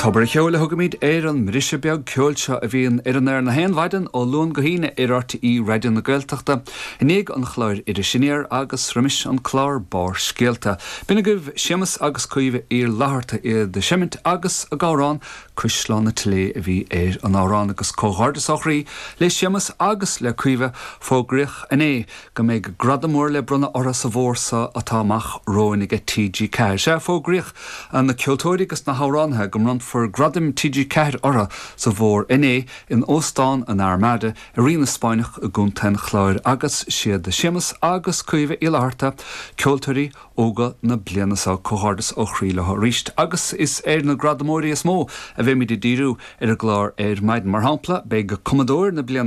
Tobar an Cheoil a thugaimid ar an mbriseadh beag ceoil seo a bhíonn ar an aer na haon mhaidin ó Luan go hAoine ar RTÉ Raidió na Gaeltachta i ndiaidh an chláir Iris Aniar agus roimis an clár Barrscéalta. B'in agaibh Séamus agus Caoimhe Uí Fhlatharta iad ag seimint agus ag amhrán Cuisleán na Tilé a bhí ar an amhrán agus comhghairdeas ó chroí le Séamus agus le Caoimhe, fógraíodh inné go mbeidh gradam mór le bronnadh orthu sa bhfómhar seo atá amach romhainn ag TG4. Sea, fógraíodh na ceoltóirí agus na hamhránaithe go mbronnfar Gradaim TG4 orthu sa bhfómhar inné in Óstán an Armada i Rinn na Spáinneach i gContae an Chláir agus siad Séamus agus Caoimhe Uí Fhlatharta ceoltóirí óga na bliana seo. Comhghairdeas ó chroí leo arís agus is ar na gradamóirí is mó a bheimid ag díriú ar an gclár ar maidin. Mar shampla, beidh Cumadóir na Bliana.